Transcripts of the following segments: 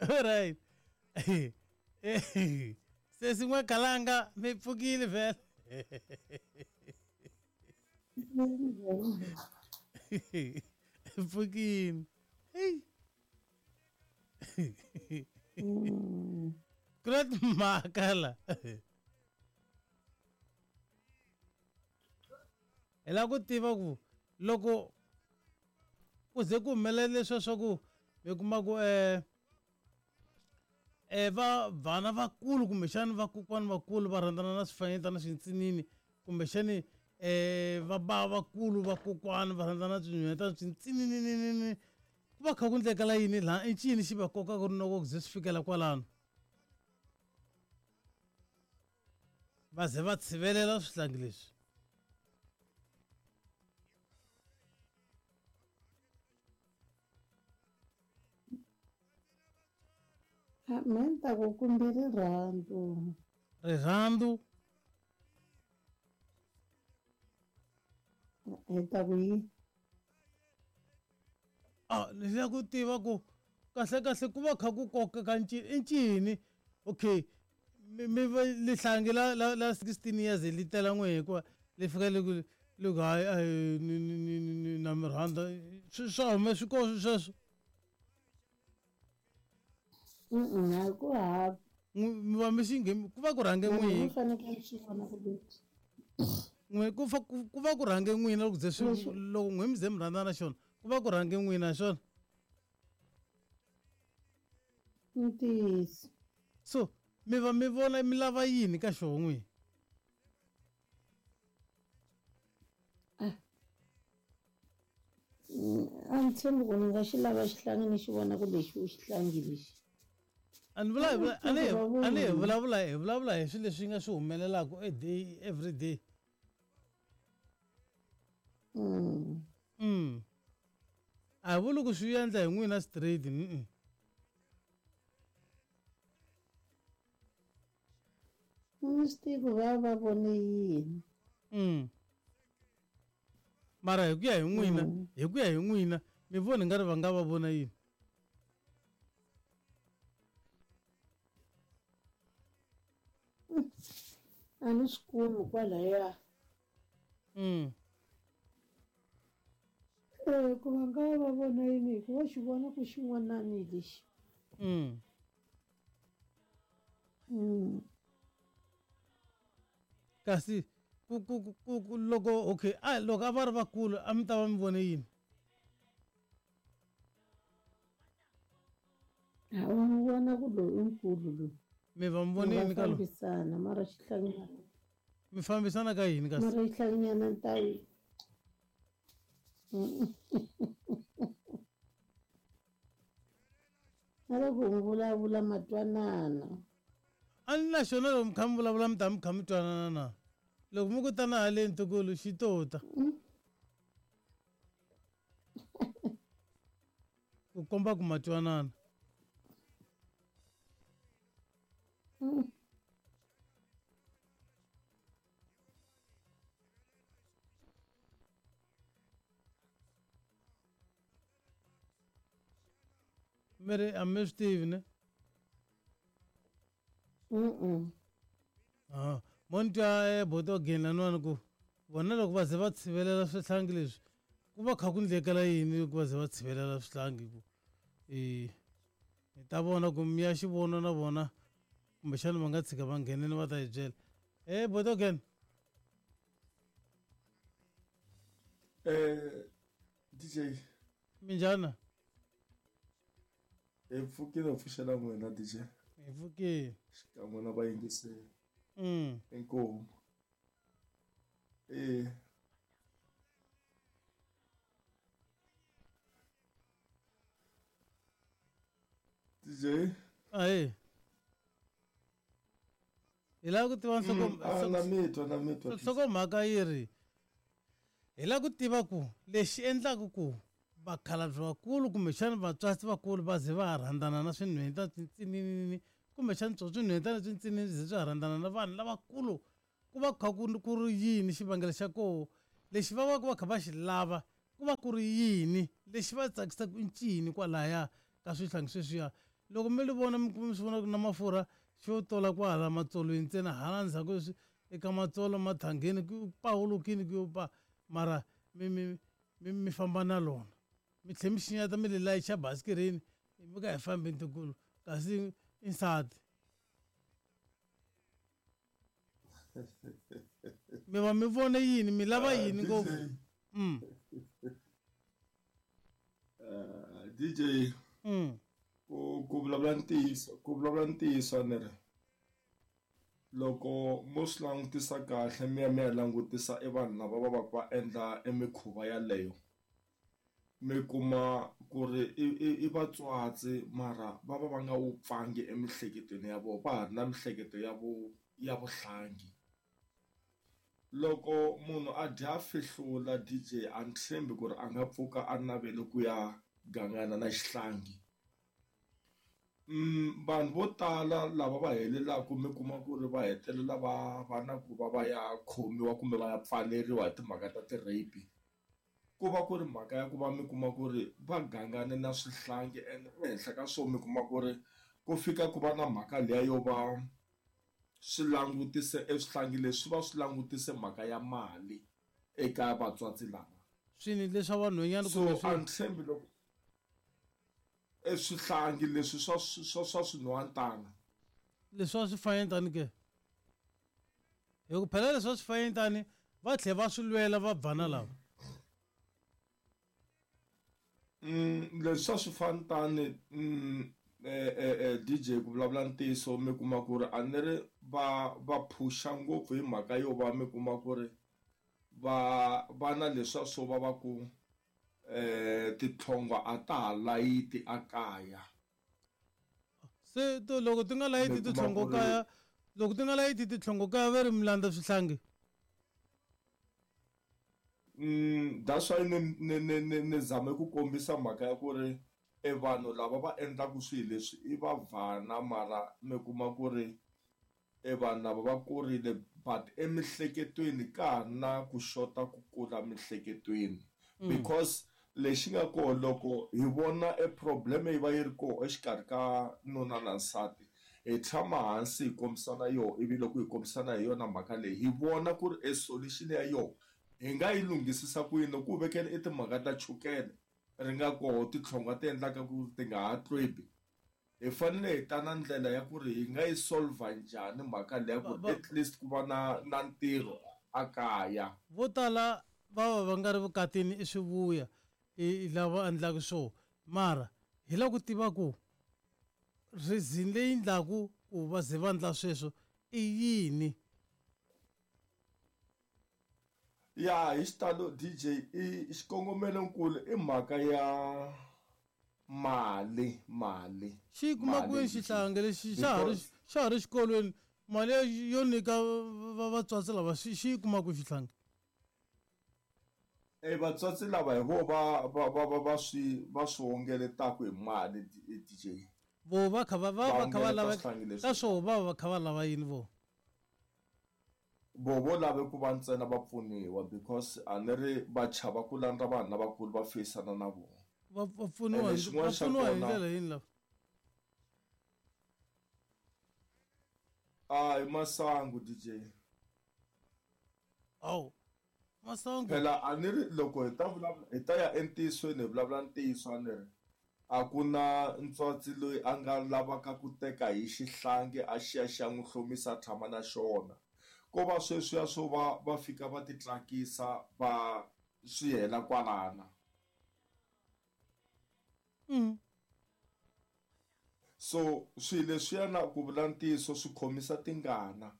Alright. Sesi n'we kalanga mi pfukile vhele. Pfukile. Hey. Ku na timhaka la. Hi lava ku tiva ku loko ku ze ku humelela leswiya swa ku mi kuma ku um va vana vakulu kumbexani vakokwani vakulu va rhandzana na swifanyetana swintsinini kumbexani um va bava vakulu vakokwani va rhandzana na swinhwanyetana swintsininini ku va kha ku ndlekela yini laha i ncini xi va kokaka rinoko ku ze swi fikela kwalano va ze va tshivelela swihlangi leswi. Me ni ta ku kumbe rirhandzu. Rirhandzu? Hi ta ku yini? A ni lava ku tiva ku kahle kahle ku va kha ku kokeka ncini i ncini okay mi mi va lihlangi la la la 16 years li tela n'we hikuva li fika li ku li ku hayi a ni ni ni ni na mi rhandza swi swa hume swi koho sweswo. A ku hava. Mi va mi xi ku va ku rhange n'wina. Mi fanekele xi vona ku leti. N'we ku fa ku va ku rhange n'wina loko ze swi loko n'we mi ze mi rhandzana na xona ku va ku rhange n'wina xona. Ntiyiso. So mi va mi vona mi lava yini ka xona n'wina? Ah. A ni tshembi ku ni nga xi lava xihlangi ni xi vona ku lexi u xihlangi lexi. A ni vula a ni a ni hi vulavula hi vulavula hi swilo leswi nga swi humelelaka a day every day. A hi vuli ku swi endla hi n'wina straight. Ni swi tivi va va vone yini. Mara hi ku ya hi n'wina hi ku ya hi n'wina mi vona nga ri va nga va vona yini? A ni swi kumi kwalaya. Ku va nga va vona yini hi ku va xi vona ku xin'wanani lexi. Kasi ku ku ku ku loko okay a loko a va ri vakulu a mi ta va mi vone yini? A wu n'wi vona ku loyi i nkulu loyi. Mi va mi vone yini ka loyi? Fambisana mara xihlanginyana. Mi fambisana ka yini kasi? Mara xihlanginyana ni ta yi. Na loko mi vulavula ma twanana. A ni na xona loko mi kha mi vulavula mi ta mi kha mi twanana na? Loko mi ku tana haleni ntukulu xi to ta. Ku komba ku ma twanana. Mi ri a mi swi tivi ne? Ah, mo ni twa eh, boto again laniwani ku vona loko va ze va tshivelela swihlangi leswi ku va kha ku ndlekela yini loko va ze va tshivelela swihlangi ku i hi ta vona ku mi ya xi vona na vona kumbexana va nga tshika va ngheneni va ta hi byela e boto again. DJ. Minjhani? Hi pfukile hi pfuxela n'wina DJ. Hi pfukile. Xikan'we na vayingiseri. Inkomu. E. DJ. Ahee. Hi lava ku tiva nhloko Na mi twa na mi twa. Nhlokomhaka yi ri hi lava ku tiva ku lexi endlaka ku vakhalabye vakulu kumbexana vatswatsi vakulu va ze va ha rhandzana na swinhweta swintsinini kumbexana swo swinhweta leswintsinini swi ze swi ha rhandzana na vanhu lavakulu ku va kha ku ku ri yini xivangelo xa koho lexi va va ku va kha va xi lava ku va ku ri yini lexi va tsakisaka i ncini kwalaya ka swihlangi sweswiya. Loko mi li vona mi kuma mi swi vona ku na mafurha xo tola kwahala matsolweni ntsena hala ndzhaku leswi eka matsolo mathangeni ku pawulukini ku yo pa mara mi mi mi mi famba na lona mi tlhe mi xinyata mi li layicha basikirini mi ka hi fambeni tikulu kasi i nsati mi va mi vone yini mi lava yini ngopfu DJ ku vulavula ntiyiso ku vulavula ntiyiso ni ri loko mo swi langutisa kahle mi ya mi ya langutisa e vanhu lava va va va endla e mikhuva yaleyo mi kuma ku ri i vatswatsi mara va va va nga wupfangi emiehleketweni ya vona va ha ri na miehleketo ya vo ya vuhlangi. Loko munhu a dya fihlula DJ a ni tshembi ku ri a nga pfuka a navele ku ya gangana na xihlangi. Vanhu vo tala lava va helelaka mi kuma ku ri va hetelela va va na ku va va ya khomiwa kumbe va ya pfaleriwa hi timhaka ta ti-rape ku va ku ri mhaka ya ku va mi kuma ku ri va gangane na swihlangi ene ehenhla ka swona mi kuma ku ri ku fika ku va na mhaka liya yo va swi langutise e swihlangi leswi va swi langutise mhaka ya mali eka vatswatsi lava. Swini leswa vanhwanyana so a ni tshembi loko e swihlangi leswi swa swa swa swinhwantana leswi a swi fayentani ke hi ku phela leswi a swi fayentani va tlhe va swi lwela va bvana lava. Leswi swa swifantani DJ ku vulavula ntiyiso mi kuma ku ri a ni ri va va phusha ngopfu hi mhaka yo va mi kuma ku ri va va na leswiya swo va va ku titlhongwa a ta ha layiti a kaya. Se to loko ti nga layiti titlhongo kaya loko ti nga layiti titlhongo kaya va ri mi landza swihlangi. That's why ni ni ni ni ni zame ku kombisa mhaka ya ku ri e vanhu lava va endlaka swilo leswi i vavhana mara mi kuma ku ri e vanhu lava va kurile but emiehleketweni ka ha na ku xota ku kula miehleketweni because lexi nga kona loko hi vona e problem yi va yi ri kona exikarhi ka nuna na nsati hi tshama hansi hi kombisana yona ivi loko hi kombisana hi yona mhaka leyi hi vona ku ri e solution ya yona hi nga yi lunghisisa ku yini loko u vekela i timhaka ta chukele ri nga koho titlhongwa ti endlaka ku ti nga ha tlwebi hi fanele hi ta na ndlela ya ku ri hi nga yi solver njhani mhaka leya ku at least ku va na na ntirho a kaya. Vo tala va va va nga ri vukatini i swivuya i lava endlaka swo mara hi lava ku tiva ku reason leyi endlaku ku va ze va endla sweswo i yini. Ya hi xitalo DJ i xikongomelonkulu i mhaka ya mali mali. Xi yi kuma kwini xihlangi lexi xa ha ri xa ha ri xikolweni mali yo nyika vatswatsi lava xi yi kuma kwihi xihlangi? E vatswatsi lava hi vo va va va va va swi va swi wongeletaka hi mali DJ. Vo va kha va va va kha va lava ka swoho va va kha va lava yini vo? Vo vo lave ku va ntsena va pfuniwa because a ni ri va chava ku landza vanhu lavakulu va feyisana na vona. Va va pfuniwa hi va pfuniwa hi ndlela yini lava? A hi masangu DJ. Hawu masangu. Phela a ni ri loko hi ta vulavula hi ta ya entiyisweni hi vulavula ntiyiso a ni ri a ku na ntswatsi loyi a nga lavaka ku teka hi xihlangi a xi ya xi ya n'wi hlomisa a tshama na xona ko va sweswiya swo va va fika va ti tsakisa va swi hela kwalana. So swilo leswiya na ku vula ntiyiso swi khomisa tingana.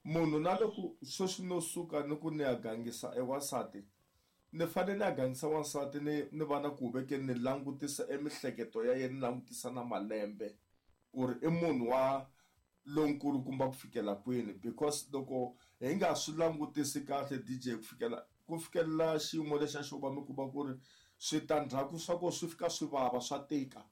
Munhu na loko sweswi no suka ni ku ni ya gangisa e wansati ni fanele ni ya gangisa wansati ni ni va na ku vekeni ni langutisa e mihleketo ya yena ni langutisa na malembe ku ri i munhu wa lonkulu kumba ku fikela kwini because loko hi nga swi langutisi kahle DJ ku fikela ku fikelela xiyimo lexa xo va mi kuma ku ri switandzhaku swa kona swi fika swi vava swa tika.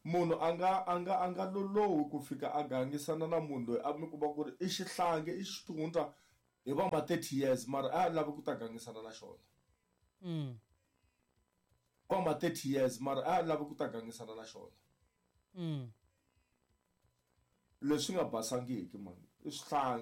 Munhu a nga a nga a nga lolohi ku fika a gangisana na munhu loyi a mi kuma ku ri i xihlangi i xitundza hi va ma 30 years mara a lavi ku ta gangisana na xona. Wa ma 30 years mara a lava ku ta gangisana na xona. Leswi nga basangiki mani i swihlangi.